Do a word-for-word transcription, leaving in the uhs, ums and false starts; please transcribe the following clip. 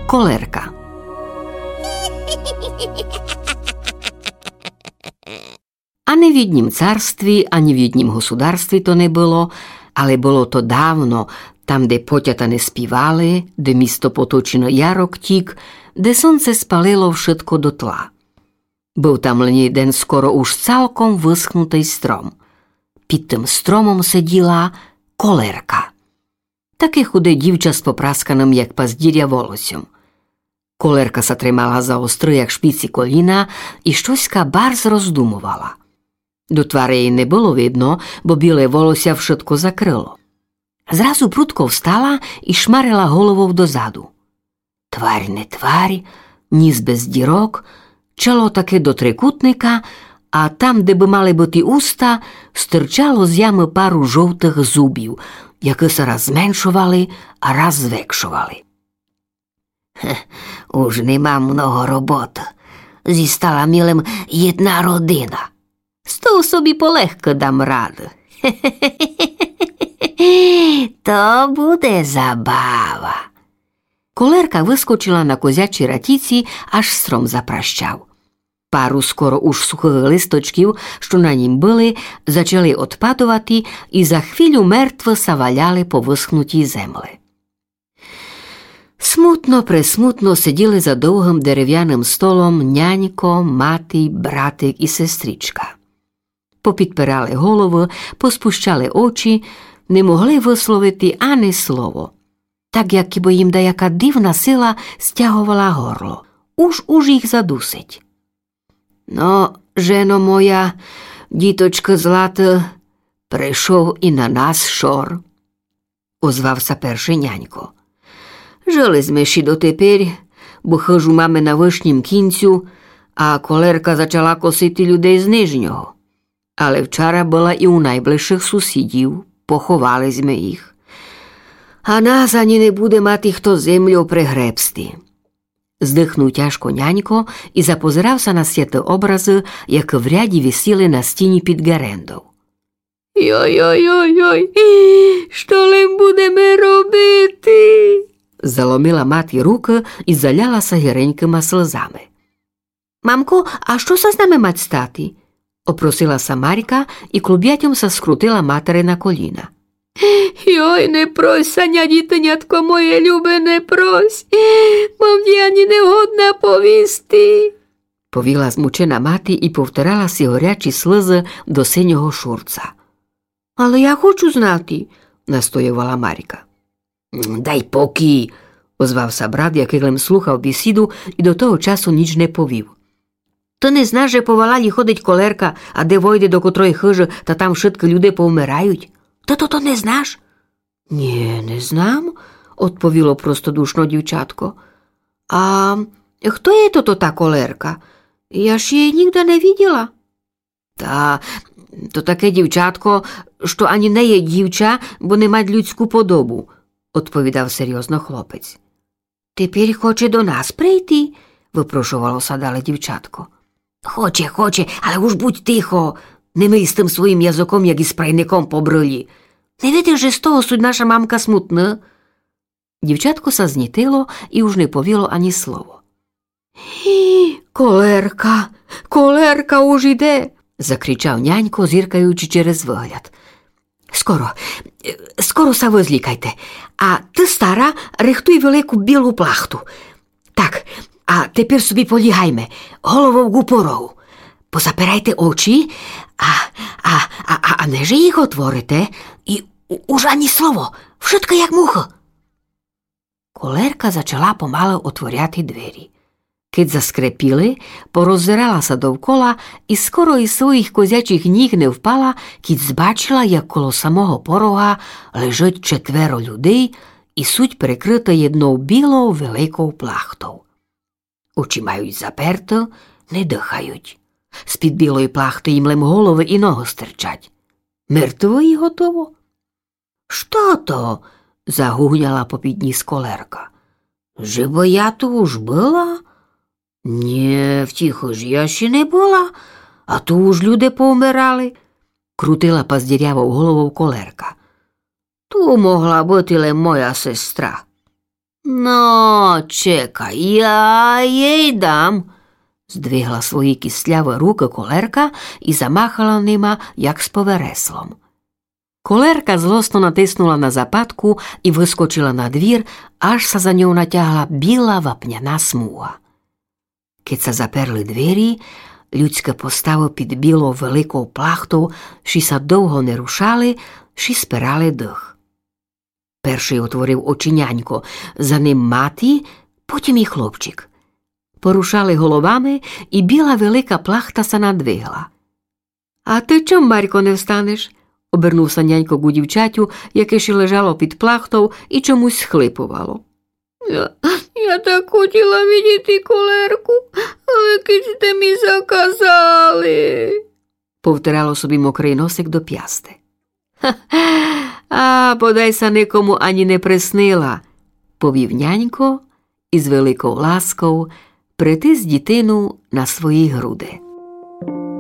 Колерка. Ани в єднім царстві, ани в єднім государстві то не было, але было то давно, там, де потята не співали, де місто поточене ярок тік, де сонце спалило вшытко дотла. Быв там лем єден скоро уж цалком высхнутый стром. Під тым стромом сиділа Колерка. Таке худе дівча з попрасканым, як паздіря, волосьом. Колерка ся тримала за остры, як шпіці, коліна і штоська барз роздумовала. До твары єй не было видно, бо біле волося вшытко закрыло. Зразу прудко встала і шмарила головов дозаду. Тварь не тварь, ніс без дірок, чело таке до трикутника, а там, де бы мали быти уста, стырчало з ямы пару жовтых зубів, якы ся раз зменшовали, а раз звекшовали. Хе, уж не мам много роботы. Зістала мі лем єдна родина. З тов собі полегко дам раду. То буде забава. Колерка выскочила на козячій ратіці, аж стром запращав. Пару скоро уж сухых листочків, што на нім были, зачали одпадовати і за хвилю мертво ся валяли по высхнутій земли. Смутно, пресмутно сиділи за довгым деревяным столом нянько, мати, братик і сестричка. Попідпирали головы, поспущали очі, не могли высловити ани слово. Так, як бы їм даяка дивна сила стяговала горло. Уж, уж їх задусить. Но, жено моя, діточко злата, пришов і на нас шор, озвав ся першый нянько. Жыли зме ші дотепер, бо хыжу маме на вышнім кінцю, а Колерка зачала косити людей з нижнього. Але вчара была і у найближшых сусідів, поховали зме їх. А нас ані не буде мати хто землю пригребсти. Здыхнув тяжко нянько і запозирав ся на святы образы, якы в ряді висіли на стіні під ґерендов. Йой-йой-йой-йой, што лем будеме робити? Заломила мати рукы і заляла ся гіренькыма слызами. Мамко, а што ся з нами мать стати? Опросила ся Марька і клубятьом ся скрутила матери на коліна. Йой, не прось ся, ня, дітинятко моє любе, не прось, бо м ті ані не годна повісти, повіла змучена мати і повтирала сі горячі слызы до синього шурца. Але я хочу знати, настоювала Марька. Дай покій, озвав ся брат, якый лем слухав бесіду і до того часу ніч не повів. Ты не знаш, же по валалі ходить Колерка, а де войде до котрої хыжы, та там вшыткы люде повмирають? Ты тото не знаш? Нє, не знам, одповіло простодушно дівчатко. А хто є тото та Колерка? Я ж єй нігде не виділа. Та то таке дівчатко, што ані не є дівча, бо не мать людську подобу, одповідав серйозно хлопець. Тепер хоче до нас прийти? Выпрошовало ся дале дівчатко. Хоче, хоче, але уж будь тихо. Не мий з тым своїм языком, як із прайником по брылі. Не видиш, же з того суть наша мамка смутна? Дівчатко ся знітило і уж не повіло ані слово. Колерка, Колерка уж іде, закричав нянько, зіркаючи через выгляд. Скоро, скоро ся вызлікайте, а ты, стара, рыхтуй велику білу плахту. Так, а тепер собі полігайме, головов ґу порогу. Позапирайте очі, а, а, а, а неже їх отворите, і у-, уж ані слово, вшытко як мухы. Колерка зачала помалы отворяти двері. Кед заскрепіли, пороззирала ся довкола і скоро із своїх козячих ніг не впала, кед збачила, як коло самого порога лежить четверо людей і суть прикрыты єднов білов великов плахтов. Очі мають заперты, не дыхають. З-під білої плахты їм лем головы і ногы стирчать. Мертвы і готово. Што то? Загугняла попід ніс Колерка. Же бы я ту уж была? Нє, в тій хыжі я ще не была, а ту уж люде повмирали, крутила паздірявов головов Колерка. Ту могла быти лем моя сестра. Но, чекай, я єй дам. Здвигла свої кістлявы рукы колерка і замахала нима, як з повереслом. Колерка злосно натиснула на западку і выскочила на двір, аж ся за ньов натягла біла вапняна смуга. Кед ся заперли двері, людськы поставы під білов великов плахтов ши ся довго не рушали, ши спирали дых. Першый отворив очи нянько, за ним мати, потім і хлопчик. Порушали головами, і біла велика плахта ся надвигла. А ты чом, Марько, не встанеш? Обернув ся нянько ку дівчатю, яке ще лежало під плахтов і чомусь схлипувало. Я, я так хотіла видіти колерку, але кидь сте ми заказали, повтирало собі мокрый носик до пясти. А, бодай ся никому ані не приснила, повів нянько і з великов ласков притис дітину на свої груди.